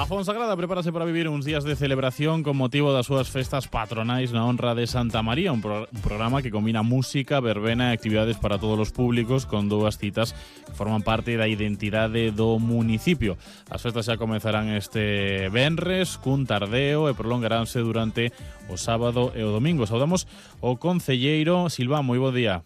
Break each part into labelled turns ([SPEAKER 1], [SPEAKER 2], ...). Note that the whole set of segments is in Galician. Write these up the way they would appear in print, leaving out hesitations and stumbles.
[SPEAKER 1] Fonsagrada prepárase para vivir uns días de celebración con motivo das súas festas patronais na honra de Santa María, un programa que combina música, verbena e actividades para todos os públicos con dúas citas que forman parte da identidade do municipio. As festas xa comezarán este venres cun tardeo e prolongaránse durante o sábado e o domingo. Saudamos o concelleiro Silván, moi bo día.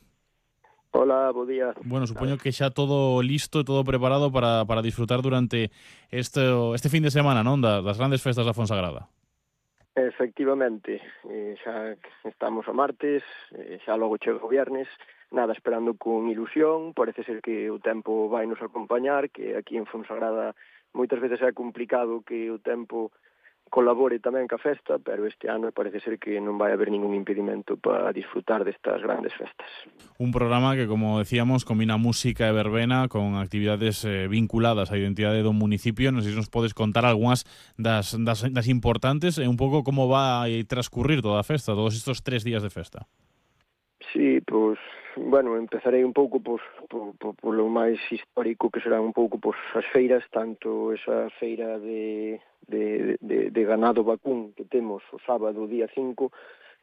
[SPEAKER 2] Hola, bo día.
[SPEAKER 1] Bueno, supoño que xa todo listo, todo preparado para disfrutar durante este fin de semana, non? Das grandes festas da Fonsagrada.
[SPEAKER 2] Efectivamente, xa estamos a martes, xa logo chega o viernes, nada, esperando con ilusión, parece ser que o tempo vai nos acompañar, que aquí en Fonsagrada moitas veces é complicado que o tempo colabore tamén ca festa, pero este ano parece ser que non vai haber ningún impedimento para disfrutar destas grandes festas.
[SPEAKER 1] Un programa que, como decíamos, combina música e verbena con actividades vinculadas á identidade do municipio. Non sei se nos podes contar algunhas das importantes e un pouco como va a transcurrir toda a festa, todos estes 3 días de festa.
[SPEAKER 2] Sí, pois, bueno, empezarei un pouco polo máis histórico, que serán un pouco as feiras, tanto esa feira de ganado vacún que temos o sábado día 5,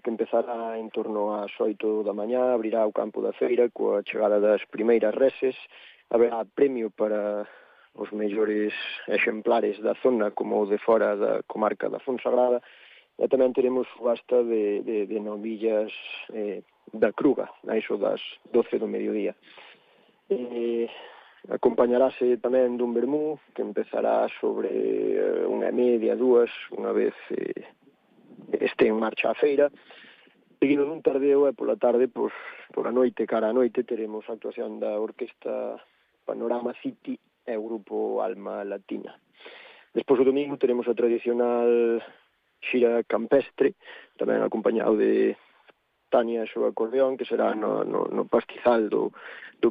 [SPEAKER 2] que empezará en torno ás 8 da mañá, abrirá o campo da feira coa chegada das primeiras reses, haberá premio para os mellores exemplares da zona como o de fora da comarca da Fonsagrada, e tamén teremos subasta de novillas da Cruga, a iso das 12 do mediodía. Acompañarase tamén dun vermú que empezará sobre 1:30, 2, unha vez este en marcha a feira, seguido dun tardeo e pola tarde, pola noite, cara a noite, teremos a actuación da Orquesta Panorama City e o grupo Alma Latina. Despois o domingo teremos a tradicional xira campestre, tamén acompañado de Tania e o acordeón, que será no pastizal do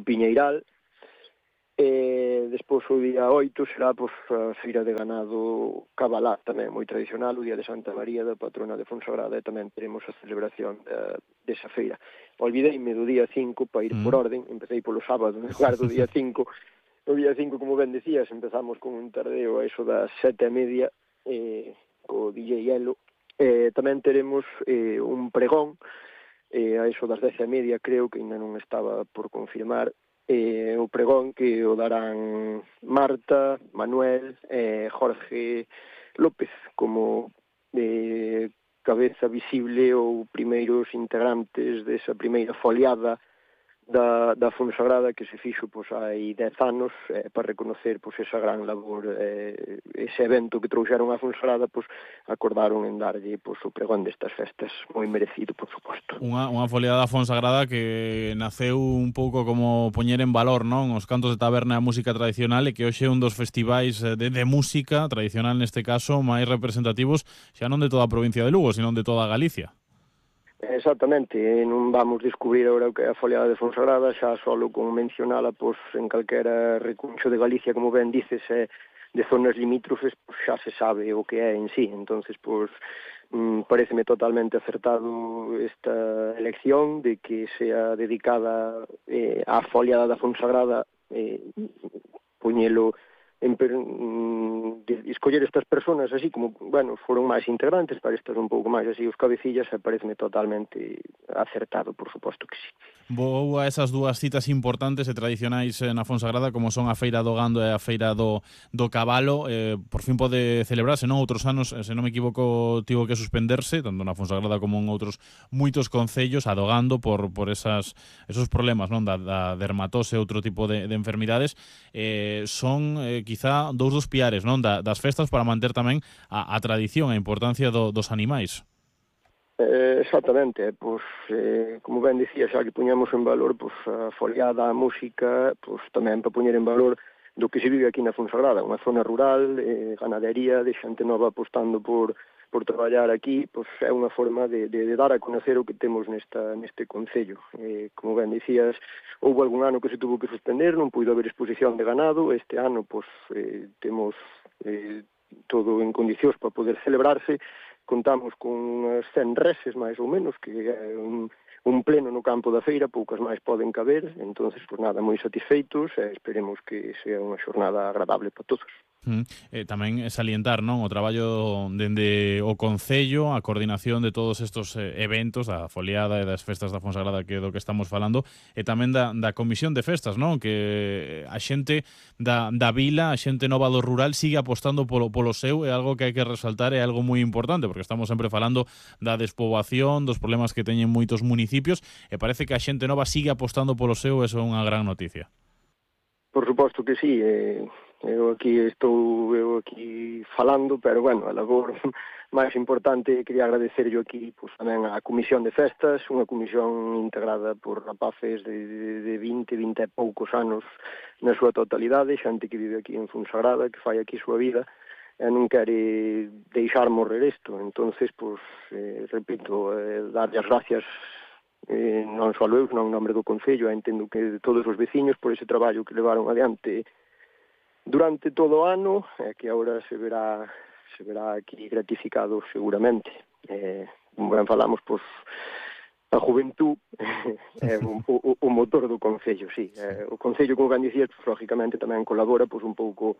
[SPEAKER 2] Piñeiral. Despois o día 8 será a feira de ganado cabalá, tamén moi tradicional, o día de Santa María, da patrona de Fonsagrada, e tamén teremos a celebración desa feira. Olvideime do día 5 para ir por orden, empecé polo sábado, en lugar do día 5. O día 5, como ben decías, empezamos con un tardeo a iso das 7:30, co DJ Elo. Tamén teremos un pregón a iso das 10:30, creo que ainda non estaba por confirmar, o pregón que o darán Marta, Manuel e Jorge López como cabeza visible ou primeiros integrantes desa primeira foliada da Fonsagrada que se fixo hai 10 anos para reconocer esa gran labor, ese evento que trouxeron a Fonsagrada, acordaron en darlle o pregón destas festas, moi merecido, por suposto.
[SPEAKER 1] Unha foliada da Fonsagrada que naceu un pouco como poñer en valor, non, os cantos de taberna e a música tradicional, e que hoxe é un dos festivais de música tradicional, neste caso, máis representativos xa non de toda a provincia de Lugo, sino de toda Galicia.
[SPEAKER 2] Exactamente, non vamos descubrir agora o que é a foliada de Fonsagrada, xa solo con mencionala en calquera recuncho de Galicia, como ben dices, de zonas limítrofes, xa se sabe o que é en sí. Entonces, pareceme totalmente acertado esta elección de que sea dedicada á foliada da Fonsagrada, poñelo escoller estas personas así como, bueno, foron máis integrantes para estas un pouco máis así os cabecillas, e pareceme totalmente acertado, por suposto que sí.
[SPEAKER 1] Vou a esas dúas citas importantes e tradicionais na Fonsagrada, como son a Feira do Gando e a Feira do Cabalo. Por fin pode celebrarse, non? Outros anos, se non me equivoco, tivo que suspenderse, tanto na Fonsagrada como en outros moitos concellos, a do Gando por esos problemas, non? Da dermatose e outro tipo de enfermidades. Son quizá dous dos piares, non, das festas, para manter tamén a tradición, a importancia dos animais.
[SPEAKER 2] Exactamente, como ben dicía, xa que puñamos en valor a foliada, a música, tamén para poñer en valor do que se vive aquí na Fonsagrada, unha zona rural, ganadería, de xente nova apostando por traballar aquí, é unha forma de dar a conocer o que temos neste concello. Como ben dicías, houve algún ano que se tuvo que suspender, non puido haber exposición de ganado, este ano temos todo en condicións para poder celebrarse. Contamos con unhas 100 reses, máis ou menos, que é un pleno no campo da feira, poucas máis poden caber, entonces, nada, moi satisfeitos, e esperemos que sea unha xornada agradable para todos.
[SPEAKER 1] Tamén salientar, non, o traballo dende o Concello, a coordinación de todos estos eventos, da foliada e das festas da Fonsagrada, que é do que estamos falando, e tamén da Comisión de Festas, non, que a xente da vila, a xente nova do rural sigue apostando polo seu, é algo que hai que resaltar, é algo moi importante, porque estamos sempre falando da despoboación, dos problemas que teñen moitos municipios, e parece que a xente nova sigue apostando polo seu, e eso é unha gran noticia.
[SPEAKER 2] Por suposto que sí, eu aquí falando, pero bueno, a labor máis importante quería agradecerlle aquí pois, tamén á Comisión de Festas, unha comisión integrada por rapaces de 20 e poucos anos na súa totalidade, xente que vive aquí en Fonsagrada, que fai aquí a súa vida, e non quere deixar morrer isto. Entonces, pois, repito, darlle as gracias non só eu, non en nome do Concello, entendo que de todos os veciños por ese traballo que levaron adiante durante todo o ano, que agora se verá aquí gratificado seguramente. Como ben falamos, pois, a juventud é o motor do Concello, sí. O Concello, como ben dicías, pois, lógicamente tamén colabora pois, un pouco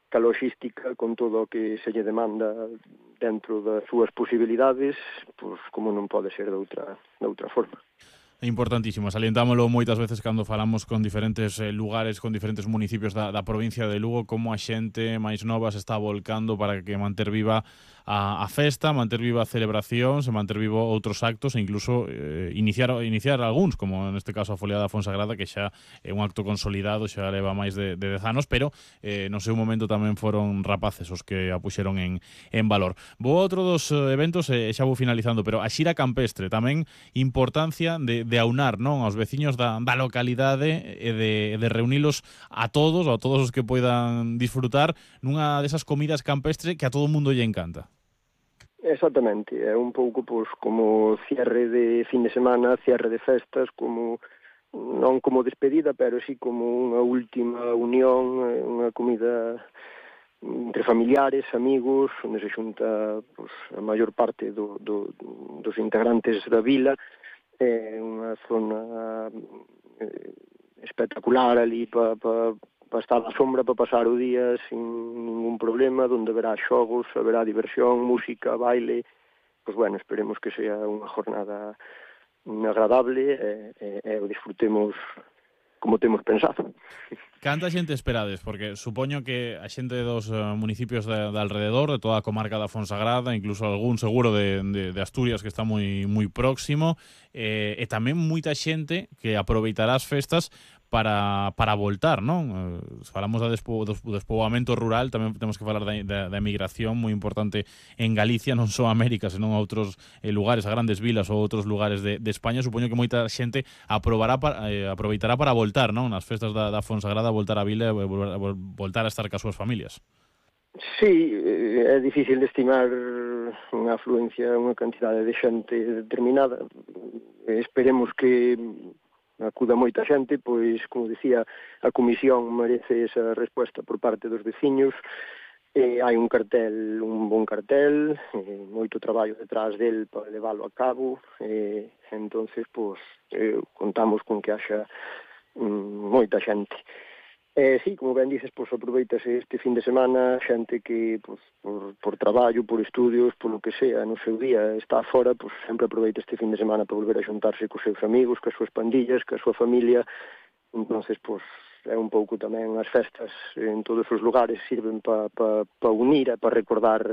[SPEAKER 2] ca logística con todo o que se lle demanda dentro das súas posibilidades, pois como non pode ser de outra forma.
[SPEAKER 1] É importantísimo, salientámoslo moitas veces cando falamos con diferentes lugares, con diferentes municipios da provincia de Lugo, como a xente máis nova se está volcando para que manter viva a festa, manter viva a celebración, se manter vivo outros actos e incluso iniciar algúns, como neste caso a foliada da Fonsagrada, que xa é un acto consolidado, xa leva máis de 10 anos, pero no seu momento tamén foron rapaces os que a puxeron en valor. Vou a outro dos eventos e xa vou finalizando, pero a xira campestre, tamén importancia de aunar, non, aos veciños da localidade e de reunilos a todos os que poidan disfrutar nunha desas comidas campestres que a todo o mundo lle encanta.
[SPEAKER 2] Exactamente, é un pouco pois, como cierre de fin de semana, cierre de festas, como non como despedida, pero sí como unha última unión, unha comida entre familiares, amigos, onde se xunta pois, a maior parte dos integrantes da vila. É unha zona espectacular ali para estar na sombra, para pasar o día sin ningún problema, onde haberá xogos, haberá diversión, música, baile. Pois bueno, esperemos que sea unha jornada agradable e o disfrutemos como temos pensado.
[SPEAKER 1] Canta xente esperades? Porque supoño que a xente dos municipios de alrededor, de toda a comarca da Fonsagrada, incluso algún seguro de Asturias que está moi próximo, e tamén moita xente que aproveitará as festas para voltar, non? Falamos do despoboamento rural, tamén temos que falar da emigración moi importante en Galicia, non só a América, senón a outros lugares, a grandes vilas ou outros lugares de España. Supoño que moita xente aproveitará para voltar, non? Nas festas da Fonsagrada, voltar a vila e voltar a estar cas súas familias.
[SPEAKER 2] Sí, é difícil de estimar unha afluencia, unha cantidade de xente determinada. Esperemos que acuda moita xente, pois, como dicía, a comisión merece esa resposta por parte dos veciños. Hai un bon cartel, moito traballo detrás del para leválo a cabo, entonces, pois, contamos con que haxa moita xente. Sí, como ben dices, pois aproveitase este fin de semana, xente que pois, por traballo, por estudios, por lo que sea, no seu día está fora, pois sempre aproveita este fin de semana para volver a xuntarse cos seus amigos, cas súas pandillas, ca súa familia. Entonces, pois é un pouco tamén as festas en todos os lugares sirven para unir e para recordar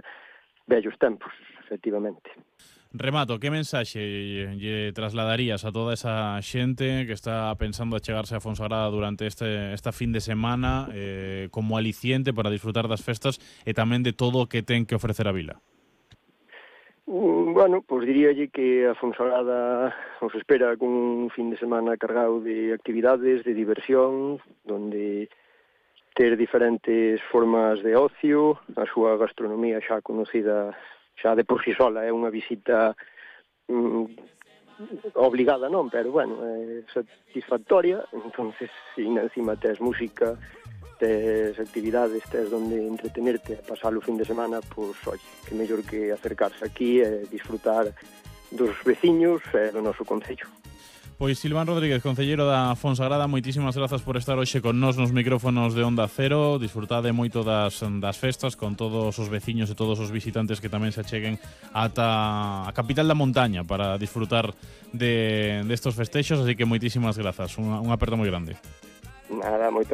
[SPEAKER 2] vellos tempos, efectivamente.
[SPEAKER 1] Remato, que mensaxe lle trasladarías a toda esa xente que está pensando achegarse a Fonsagrada durante esta fin de semana como aliciente para disfrutar das festas e tamén de todo o que ten que ofrecer a vila?
[SPEAKER 2] Bueno, pois diríalle que a Fonsagrada os espera con un fin de semana cargado de actividades, de diversión, donde ter diferentes formas de ocio, a súa gastronomía xa conocida xa de por si sola, é unha visita obligada non, pero bueno, é satisfactoria. Entonces, si encima tes música, tes actividades, tes donde entretenerte, pasar o fin de semana, pois, oye, que mellor que acercarse aquí e disfrutar dos veciños e do noso concello.
[SPEAKER 1] Pois Silván Rodríguez, concelleiro da Fonsagrada, moitísimas grazas por estar hoxe con nós nos micrófonos de Onda Cero. Disfrutade moito das festas con todos os veciños e todos os visitantes que tamén se acheguen ata a capital da montaña para disfrutar de estos festexos, así que moitísimas grazas, un aperto moi grande.
[SPEAKER 2] Nada, moitas